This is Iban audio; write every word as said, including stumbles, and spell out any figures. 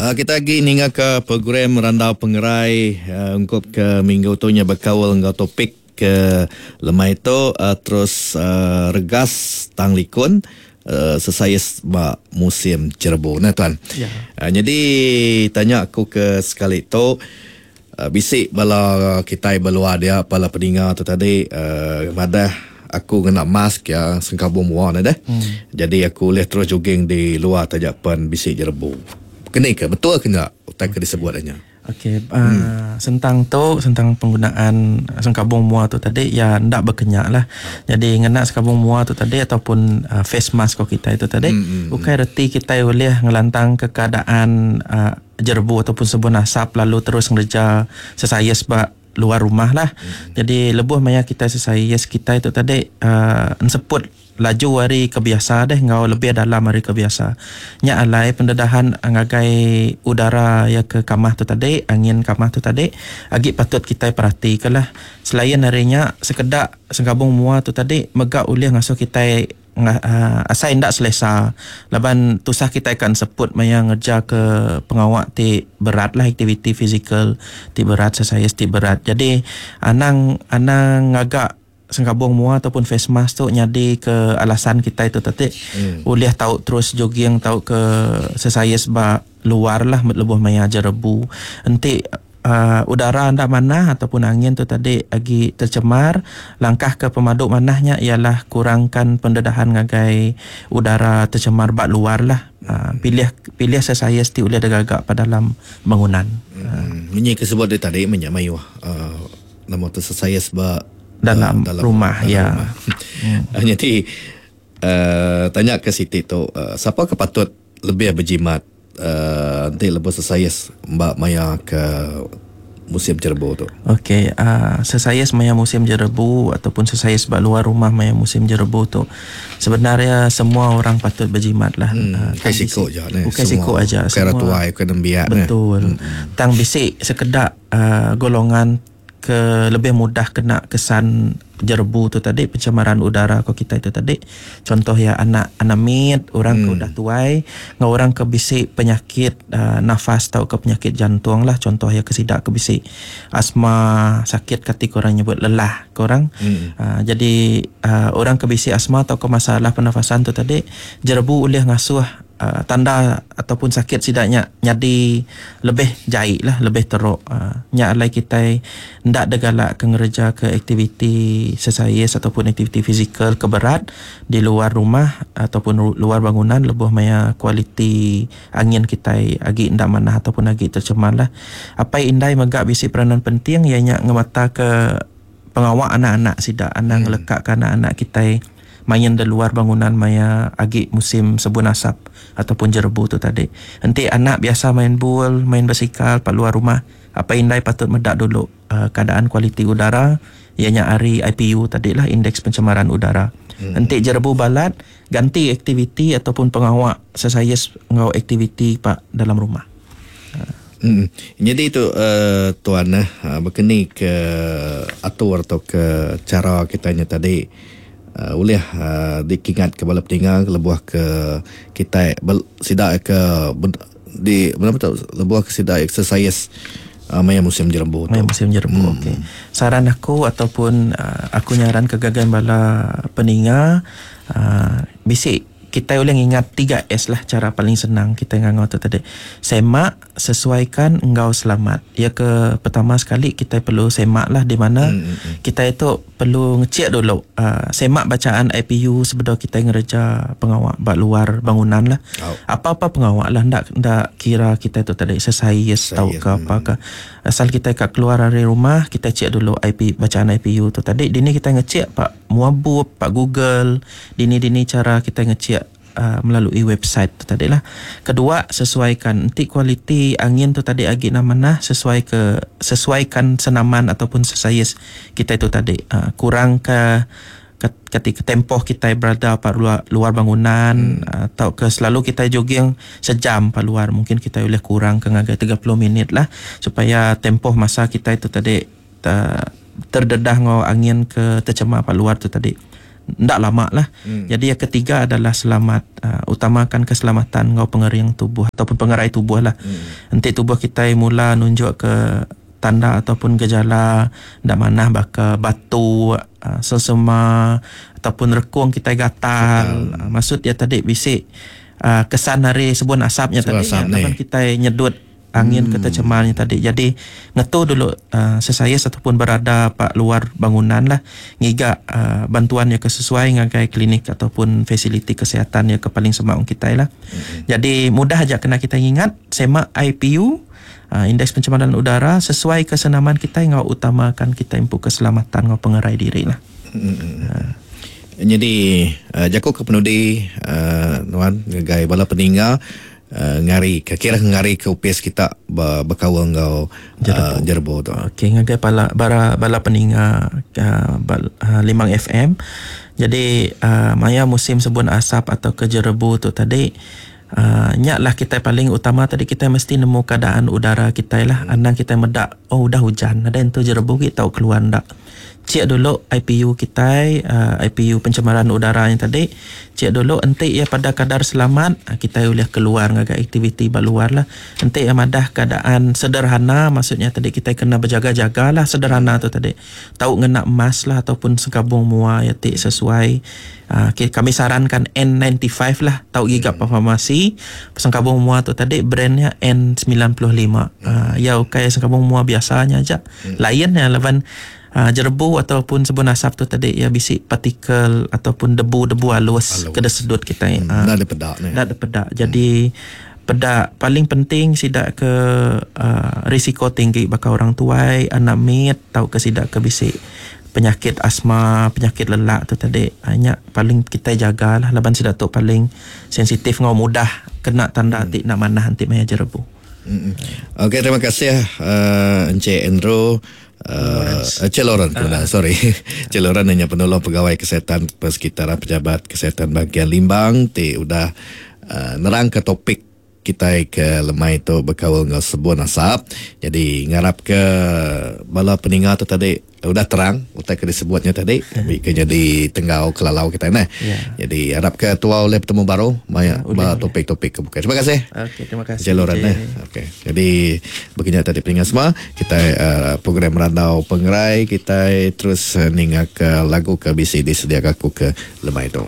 Uh, kita lagi ninga ke program Randau Pengerai uh, ungkup ke minggu tu nya berkaul enggau topik ke lemai tu uh, terus uh, regas tang likun uh, sesais ba musim jerebu nah tuan. Ya. Uh, jadi tanya aku ke sekali tu uh, bisik bala kita beluar dia bala peninga tu tadi uh, madah aku kena mask ya sengkabung mua dah deh. Hmm. Jadi aku boleh terus jogging di luar tajak pen bisik jerebu. Kena ke betul ke enggak utai ke disebut nya? Okey, uh, hmm. sentang tu sentang penggunaan sengkabung mua tu tadi ya ndak berkenyak lah. Jadi ngena sengkabung mua tu tadi ataupun uh, face mask ko kita itu tadi hmm, hmm, bukan reti kita boleh ngelantang ke keadaan uh, jerebu ataupun sebun asap lalu terus ngerja sesaya sebab luar rumah lah. Hmm. Jadi lebuh maya kita sesaya kita itu tadi uh, enseput laju hari kebiasa deh ngau lebih dalam hari kebiasa. Nya alai pendedahan ngagai udara ya ke kamah tu tadi, angin kamah tu tadi agi patut kita perhatikan lah. Selain harinya sekedak sengkabung mua tu tadi megak ulih ngasuh kita uh, asai ndak selesa. Laban tusah kita akan seput maya ngerja ke pengawak ti berat lah, aktiviti fizikal ti berat, sesaya ti berat. Jadi anang anang ngagak sengkabung mua ataupun face mask tu nyadi ke alasan kita itu tadi hmm. boleh tahu terus jogging tahu ke sesaya sebab luar lah lebuh maya jerebu. Enti uh, udara ndak mana ataupun angin tu tadi agi tercemar, langkah ke pemaduk manahnya ialah kurangkan pendedahan ngagai udara tercemar bak luar lah. Uh, pilih pilih sesaya sti boleh degagak pada dalam bangunan. Hmm. Ini kesebut dia tadi menyak mayuh uh, nama tu sesaya sebab dalam, uh, dalam rumah dalam ya. Rumah. Hmm. Jadi uh, tanya ke Siti tu uh, siapa ke patut lebih berjimat uh, nanti lebih sesayas mbak maya ke musim jerebu tu. Okey, uh, sesayas maya musim jerebu ataupun sesayas bak luar rumah maya musim jerebu tu sebenarnya semua orang patut berjimat lah. Hmm, uh, bukan sikok je ni. Bukan sikok aja. Bukan tuai, bukan nembiak. Betul. Hmm. Tang bisik sekedak uh, golongan ke lebih mudah kena kesan jerebu tu tadi, pencemaran udara ko kita itu tadi. Contoh ya anak anak mit, orang hmm. ke udah tuai, ngau orang ke bisik penyakit uh, nafas atau ke penyakit jantung lah. Contoh ya kesidak ke bisik asma, sakit ketika orang nyebut lelah ke orang. Hmm. Uh, jadi uh, orang ke bisik asma atau ke masalah pernafasan tu tadi, jerebu boleh ngasuh Uh, tanda ataupun sakit sidaknya jadi lebih jahit lah, lebih teruk. Uh, nyak alai kita ndak degalak ke ngerja ke aktiviti sesayas ataupun aktiviti fizikal ke berat di luar rumah ataupun luar bangunan lebuh maya kualiti angin kita agi ndak manah ataupun agi tercemar lah. Apai indai megak bisi peranan penting ianya ngemata ke pengawak anak-anak sidak, anak hmm. ngelekak ke anak-anak kita main di luar bangunan maya agi musim sebun asap ataupun jerebu tu tadi. Nanti anak biasa main bol, main basikal pak luar rumah, apa indai patut medak dulu uh, keadaan kualiti udara ianya hari I P U tadi lah, indeks pencemaran udara. Hmm. Nanti jerebu balat ganti aktiviti ataupun pengawak sesayas ngau aktiviti pak dalam rumah. Hmm. Jadi itu uh, tuan eh uh, berkeni ke atur atau ke cara kitanya tadi Uh, boleh uh, dikingat ke bala petinggal lebuh ke kita bel, sidak ke ben, di berapa tahu lebuh ke sidak exercise uh, maya musim jerebu tu. Maya musim jerebu. Hmm. Okey. Saran aku ataupun uh, aku nyaran ke gagan bala peninga uh, bisik kita boleh ingat tiga S lah, cara paling senang kita ngangau tu tadi. Semak, sesuaikan, engkau selamat. Ya ke pertama sekali kita perlu semak lah di mana hmm, hmm, hmm. kita itu perlu ngecek dulu. Uh, semak bacaan I P U sebelum kita ngerja pengawak bak luar bangunan lah. Oh. Apa-apa pengawak lah, ndak ndak kira kita itu tadi sesayas tau ke apa ke. Asal kita kat keluar dari rumah, kita cek dulu I P, bacaan I P U tu tadi. Dini kita ngecek pak Muabub, pak Google, dini-dini cara kita ngecek Uh, melalui website tu tadi lah. Kedua, sesuaikan. Nanti kualiti angin tu tadi agi nama sesuai ke sesuaikan senaman ataupun sesayas kita itu tadi. Uh, kurang ke ketika tempoh kita berada pak luar, luar bangunan hmm. atau ke selalu kita jogging sejam pak luar, mungkin kita boleh kurang ke ngagai tiga puluh minit lah supaya tempoh masa kita itu tadi uh, terdedah ngau angin ke tercemar pak luar tu tadi ndak lama lah. Hmm. Jadi yang ketiga adalah selamat, uh, utamakan keselamatan ngau pengering tubuh ataupun pengerai tubuh lah. Hmm. Nanti tubuh kita mula nunjuk ke tanda ataupun gejala ndak manah baka batu, uh, sesema ataupun rekung kita gatal. Uh, maksud dia tadi bisik uh, kesan hari sebun asapnya tadi asap ya, kita nyedut angin hmm. ketercemarnya tadi. Jadi ngetu dulu uh, sesaya ataupun berada pak luar bangunan lah, ngiga uh, bantuan yang kesesuai ngagai klinik ataupun fasiliti kesihatan yang ke paling semak kita lah. Hmm. Jadi mudah aja kena kita ingat semak I P U, uh, indeks pencemaran udara sesuai kesenaman kita ngau utamakan kita impu keselamatan ngau pengerai diri lah. Hmm. Uh. Jadi uh, jaku ke penudi uh, nuan ngagai bala peninggal Uh, ngari ke kira ngari ke U P S kita berkawal ngau uh, jerbo tu. Okey, ngagai bala bara bala peninga uh, bal, uh, Limang F M. Jadi uh, maya musim sebun asap atau ke jerebu tu tadi, uh, nyaklah kita paling utama tadi kita mesti nemu keadaan udara kita lah. Hmm. Anang kita medak oh udah hujan, ada entu jerebu kita tahu keluar ndak. Cek dulu I P U kita, uh, I P U pencemaran udara yang tadi. Cek dulu enti ya pada kadar selamat, kita boleh keluar ngagai aktiviti luar lah. Enti ya madah keadaan sederhana, maksudnya tadi kita kena berjaga-jaga lah sederhana tu tadi. Tahu ngena emas lah ataupun sekabung mua ya tik sesuai. Uh, kami sarankan N sembilan puluh lima lah, tahu gigap hmm. farmasi. Sengkabung mua tu tadi brandnya N sembilan puluh lima. Uh, ya okey sengkabung mua biasanya aja. Hmm. Lainnya lawan Uh, jerebu ataupun sebun asap tu tadi ya bisik partikel ataupun debu-debu halus, halus. Kena sedut kita. Hmm, uh, dah ada pedak ni. Dah ada pedak. Jadi hmm. pedak paling penting sidak ke uh, risiko tinggi bakal orang tuai, anak mit tau ke sidak ke bisik penyakit asma, penyakit lelak tu tadi. Hanya paling kita jagalah laban sidak tu paling sensitif ngau mudah kena tanda hmm. tik nak manah anti maya jerebu. Hmm. Okey, terima kasih uh, Encik Andrew. Uh, Cik Lawrence, uh. sorry. Cik Lawrence hanya penolong pegawai kesihatan persekitaran pejabat kesihatan bahagian Limbang ti udah uh, nerang ke topik kita ke lemai tu berkawal dengan sebun asap. Jadi ngarap ke bala peningat tu tadi udah terang utai ke disebutnya tadi hmm. ke jadi tenggau kelalau kita nah. Yeah. Jadi harap ke tua oleh bertemu baru banyak ya, topik-topik ke bukan. Terima kasih. Okey, terima kasih. Cik Lawrence eh. Okey. Jadi begini tadi peningat semua, kita uh, program Randau Pengerai kita terus uh, ninga ke lagu ke B C disediakan aku ke lemai tu.